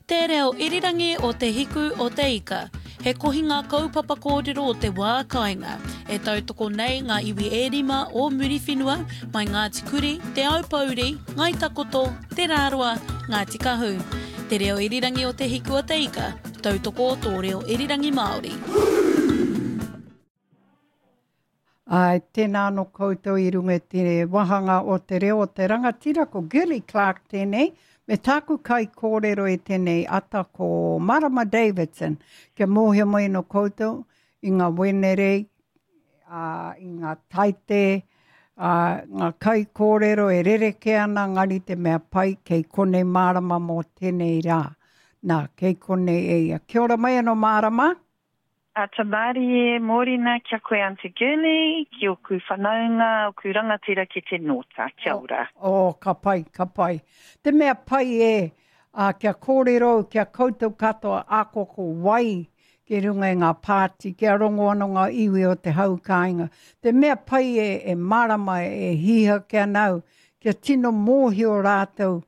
Te Reo Irirangi o Te Hiku o Te Ika, he kohinga kaupapa kōrero o te wā kāinga, e tautoko nei ngā iwi e rima o Muriwhenua, mai Ngāti Kuri, Te Aupōuri, Ngāi Takoto, Te Rāroa, Ngāti Kahu. Te Reo Irirangi o Te Hiku o Te Ika, tautoko o tō reo irirangi Māori. Āe, tēnā anō koutou i runga i te wāhanga o te reo o te rangatira, ko Girlie Clarke tēnei, me tāku kaikōrero i tēnei ata ko Marama Davidson. Kia mōhio mai anō koutou i ngā Wenerei, ā, i ngā Taite, ā, ngā kaikōrero e rerekē ana engari te mea pai kei konei Marama mō tēnei rā. Nā, kei konei e ia. Kia ora mai anō Marama. Ata mārie, mōrena kia koe Aunty Girlie, ki oku whanaunga, oku rangatira ki te Nōta. Kia ora. Oh, ka pai, ka pai. Te mea pai e, ā, kia kōrero au ki a koutou katoa ako ko wai ki runga i ngā pāti, kia rongo anō ngā iwi o te hau kāinga. Te mea pai e, e mārama, e hīhake ana au, kia tino mōhio rātou,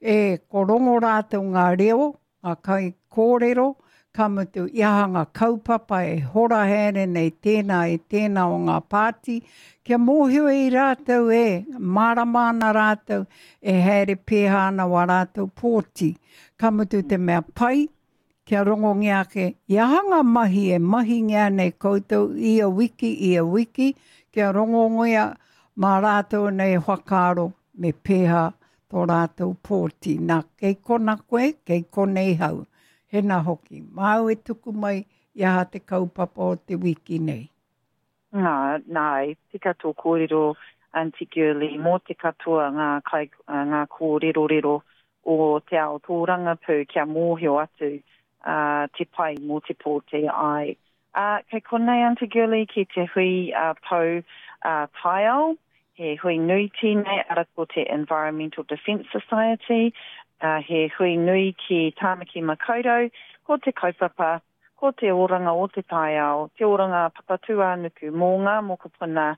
e, ko rongo rātou ngā reo, ngā kaikōrero, ka mutu i aha ngā kaupapa e hora haere nei tēnā e tēnā o ngā pāti, kia mōhio i rātou e mārama ana rātou e haere pēhā ana wā rātou pōti. Ka mutu te mea pai, kia rongongia ake i aha ngā mahi e mahingia nei koutou ia wiki, ia wiki, kia rongongia mā rātou nei whakaaro me pēhā tō rātou pōti. Nā, kei kona koe, kei konei hau. Hena hoki, māu e tuku mai i aha te kaupapa o te wiki nei. Nā, nā, i tika tō kōrero, Aunty Girlie, mō te katoa ngā kai, ngā kōrerorero o te ao tōrangapū kia mōhio atu te pai mō te pōti, āe. Ā, kei konei Aunty Girlie ki te hui a Pou Taiao, he hui nui tēnei, ara ko te Environmental Defence Society, ā, he hui nui ki Tāmaki Makaurau, ko te kaupapa, ko te oranga o te taiao, te oranga Papatūānuku mō ngā mokopuna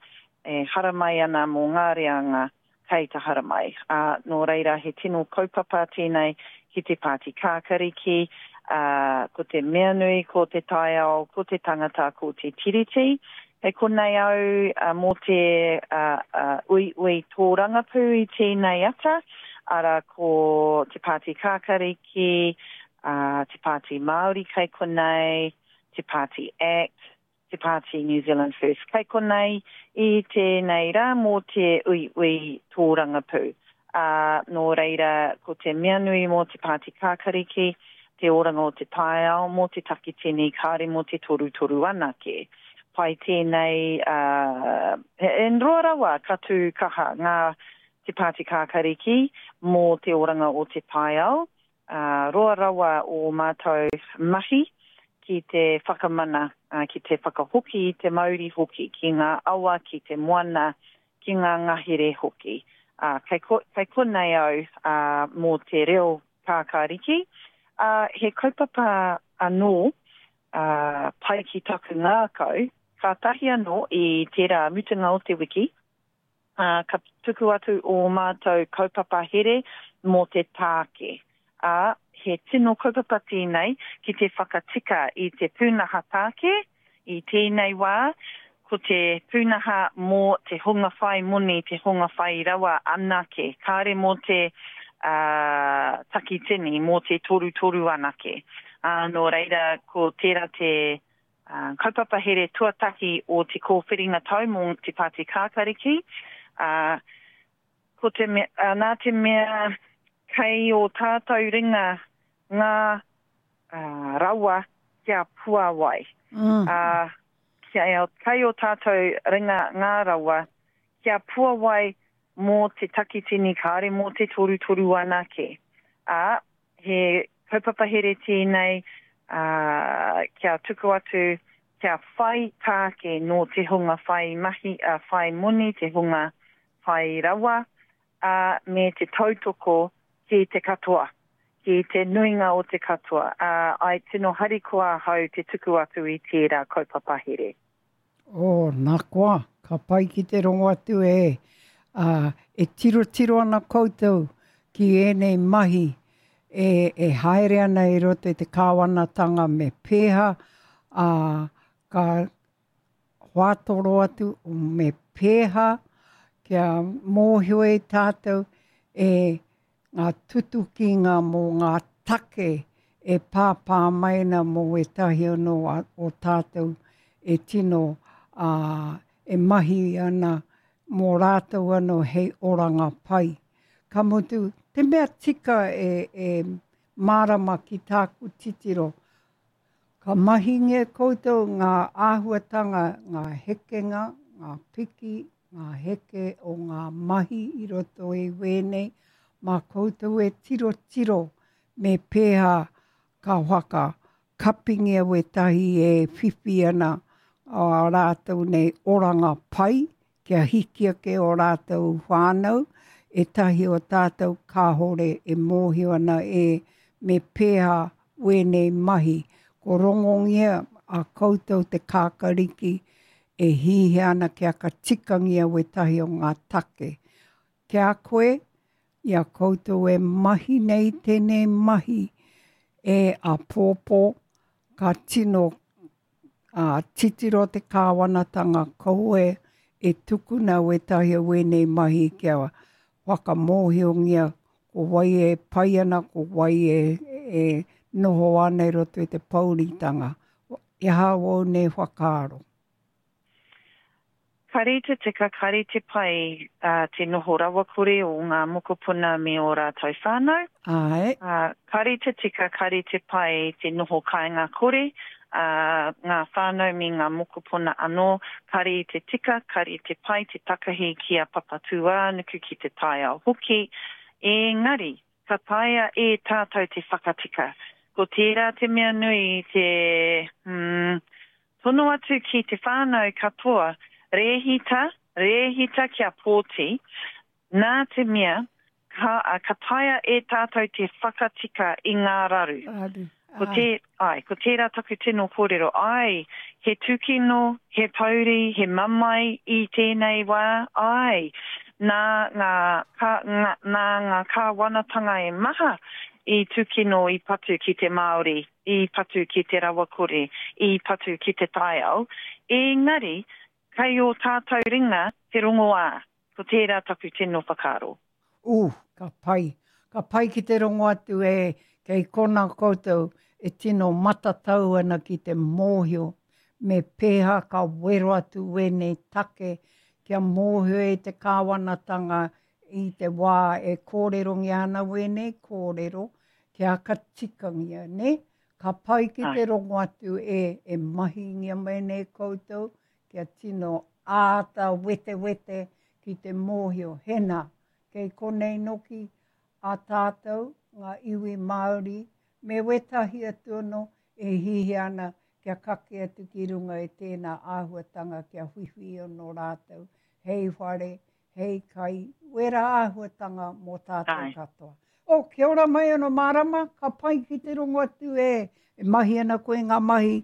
e haramai ana mō ngā reanga kei te haramai. Ā, nō reira he tino kaupapa tēnei ki te Pāti Kākariki, ā, ko te mea nui ko te taiao, ko te tangata, ko te Tiriti. Kei konei au mō te uiui tōrangapū i tēnei ata, arā ko te Pāti Kākariki, ā, te Pāti Māori kei konei, te Pāti Act, te pāti New Zealand First. Kei konei i tēnei rā mō te uiui tōrangapū. Ā, nō reira, ko te mea nui mō te pāti Kākariki, te oranga o te taiao, mō te takitini, kāore mō te torutoru anake. Pai tēnei, ā, he roa rawa ka tū kaha ngā te pāti Kākariki mō te oranga o te taiao, ā, roa rawa ō mātou mahi ki te whakamana, ā, ki te whakahoki i te mauri hoki ki ngā awa, ki te moana, ki ngā ngahere hoki. Ā, kei, ko, kei konei au, ā, mō te reo kākāriki. Ā, he kaupapa anō, ā, pai ki taku ngākau, kātahi anō i tērā mutunga o te wiki, ā, ka tuku atu ō mātou kaupapa here mō te tāke, ā, he tino kaupapa tēnei ki te whakatika i te pūnaha tāke i tēnei wā, ko te pūnaha mō te hunga whai moni, te hunga whai rawa anake, kāore mō te, ā, takitini, mō te torutoru anake. Ā, nō reira, ko tērā te, Kaupapa here tuatahi o te kōwhiringa tau mō Te Pāti Kākariki, ā, ko te mea, nā te mea kei ō tātou ringa ngā rawa kia puāwai. Ā, kei ō tātou ringa ngā rawa kia puāwai mō te takitini kāore mō te torutoru anake. Ā, He kaupapa here tēnei, ā, kia tuku atu, kia whai tāke nō te hunga whai mahi, ā, whai moni, te hunga whai rawa, ā, me te tautoko ki te katoa, ki te nuinga o te katoa, ā, I tino harikoa ahau te tuku atu i tērā kaupapa here. Oh, nā koa, ka pai ki te rongo atu e, ā, e tirotiro ana koutou ki ēnei mahi. e, e haere ana i roto i te kāwanatanga me pēha, ā, ka whātoro atu me pēha kia mōhio e tātou e ngā tutukinga mō ngā take e pāpā mai ana mō ētahi anō o tātou e tino ā, e mahi ana mō rātou anō hei oranga pai. Ka mutu, te mea tika e, e mārama ki tāku titiro, Ka mahingia koutou ngā āhuatanga, ngā hekenga, ngā piki, ngā heke o ngā mahi i roto i wēnei, mā koutou e tirotiro me pēhā ka whaka kapingia wētahi e whiwhi ana ā rātou nei oranga pai kia hiki ake ō rātou whānau, ētahi o tātou kāore e mōhio ana e me pēhā wēnei mahi. Ko rongongia a koutou te kākariki e hihia ana kia ka tikangia wētahi o ngā take. Ki a koe, i a koutou e mahi nei tēnei mahi e āpōpō, ka tino Ā, titiro te kāwanatanga kaua e tukuna wētahi o wēnei mahi kia whakamōhiongia ko wai e pai ana, ko wai e, e noho ana i roto i te pouritanga. I aha wōu nei whakaaro? Kare te tika, kare te pai te noho rawakore o ngā mokopuna me ō rātou whānau. Āe. Kare te tika, kare te pai te noho kāinga kore a ngā whānau me ngā mokopuna anō. Kare te tika, kare te pai te takahi ki a Papatūānuku, ki te taiao hoki. Engari, ka taea e tātou te whakatika. Ko tērā te mea nui te, hmm, Tono atu ki te whānau katoa, rēhita, rēhita kia pōti, nā te mea, ka, ka taea e tātou te whakatika i ngā raru. Raru, Ko te, āe, ko tērā taku tino kōrero, āe, he tūkino, he pouri, he mamae i tēnei wā, āe, nā ngā, ka, ngā, nā ngā kāwanatanga e maha i tūkino, i patu ki te Māori. i patu ki te rawakore, i patu ki te taiao, engari kei ō tātou ringa te rongoā, ko tērā taku tino whakaaro. Ooh, ka pai. Ka pai ki te rongo atu e, kei kona koutou e tino matatau ana ki te mōhio me pēhā ka wero atu wēnei take kia mōhio e te kāwanatanga i te wā e kōrerongia ana wēnei kōrero kia ka tikangia, nē? Ka pai ki te rongo atu e, e mahingia mai nei koutou kia tino āta wetewete ki te mōhio, hena, kei konei noki a tātou, ngā iwi Māori, me wētahi atu anō e hihia ana kia kake atu ki runga i tēnā āhuatanga kia whiwhi anō rātou hei whare, hei kai, wera āhuatanga mō tātou katoa. Oh, kia ora mai ano Marama, ka pai ki te rongo atu e, e mahi ana koe ngā mahi,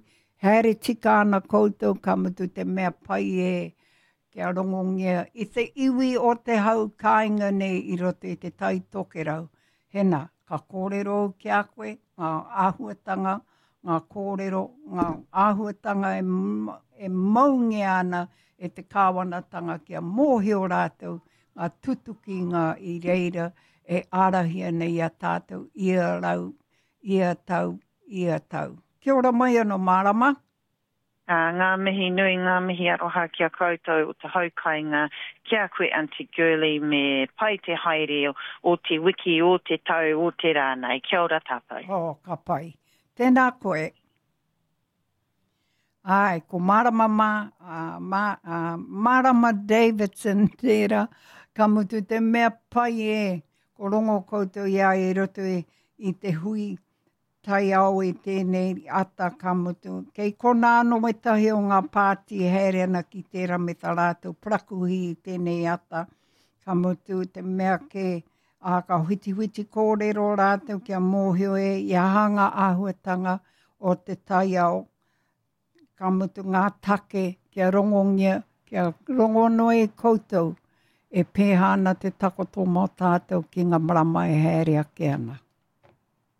haere tika ana koutou, ka mutu te mea pai e, kia rongongia i te iwi o te hau kāinga nei i roto i te Tai Tokerau. Hena, ka kōrero au ki a koe, ngā āhuatanga, ngā kōrero, ngā āhuatanga e, e maungia ana e te kāwanatanga kia mōhio rātou ngā tutukinga i reira e ārahi ana i a tātou ia rau, ia tau, ia tau. Kia ora mai anō Marama. Ā, ngā mihi nui, ngā mihi aroha ki a koutou o te hau kainga, ki a koe Aunty Girlie me pai te haere o te wiki, o te tau, o te rā nei. Kia ora tātou. Oh, ka pai. Tēnā koe. Āe, ko Marama mā, ā, mā, ā, Marama Davidson tērā, ka mutu te mea pai e, ko rongo koutou i a ia i roto i, i te hui taiao i tēnei ata ka mutu. Kei konā anō wētahi o ngā pāti e haere ana ki tērā me tā rātou parakuihi i tēnei ata, ka mutu te mea kē, ā, ka whitiwhiti kōrero rātou kia mōhio e i aha ngā āhuatanga o te taiao, ka mutu ngā take kia rongongia, kia rongo noa e koutou e pēhā ana te takoto mō tātou ki ngā marama e haere ake ana.